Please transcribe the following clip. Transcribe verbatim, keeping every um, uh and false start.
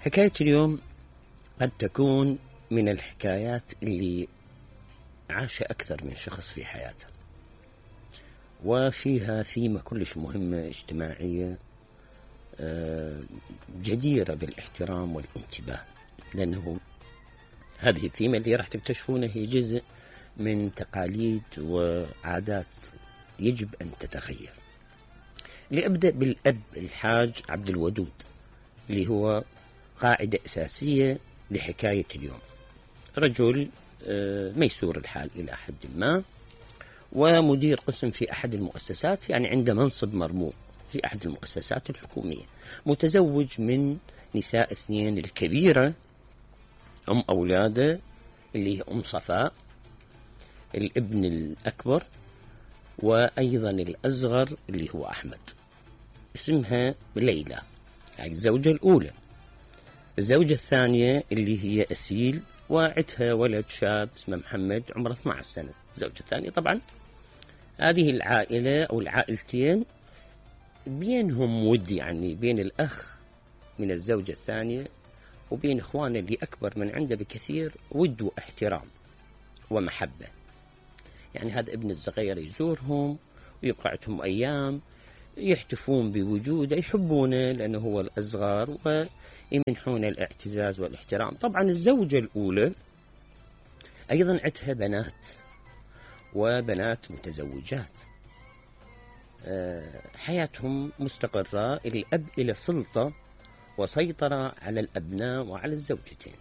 حكاية اليوم قد تكون من الحكايات اللي عاش أكثر من شخص في حياته، وفيها ثيمة كلش مهمة اجتماعية جديرة بالاحترام والانتباه، لأنه هذه الثيمة اللي راح تكتشفونها هي جزء من تقاليد وعادات يجب أن تتغير. لأبدأ بالأب الحاج عبد الودود اللي هو قاعدة أساسية لحكاية اليوم. رجل ميسور الحال إلى حد ما، ومدير قسم في أحد المؤسسات، يعني عنده منصب مرموق في أحد المؤسسات الحكومية، متزوج من نساء اثنين، الكبيرة أم أولاده اللي هي أم صفاء، الابن الأكبر، وأيضا الأصغر اللي هو أحمد، اسمها ليلى، يعني الزوجة الأولى. الزوجة الثانية اللي هي أسيل، وعدها ولد شاب اسمه محمد عمره اثني عشر سنة. الزوجة الثانية طبعا هذه العائلة أو العائلتين بينهم ود، يعني بين الأخ من الزوجة الثانية وبين إخوانه اللي أكبر من عنده بكثير ود واحترام ومحبة. يعني هذا ابن الصغير يزورهم ويقعدهم أيام، يحتفون بوجوده، يحبونه لأنه هو الأصغر ويمنحون الاعتزاز والاحترام. طبعا الزوجة الأولى أيضا عندها بنات، وبنات متزوجات، حياتهم مستقرة، الأب إلى سلطة وسيطرة على الأبناء وعلى الزوجتين.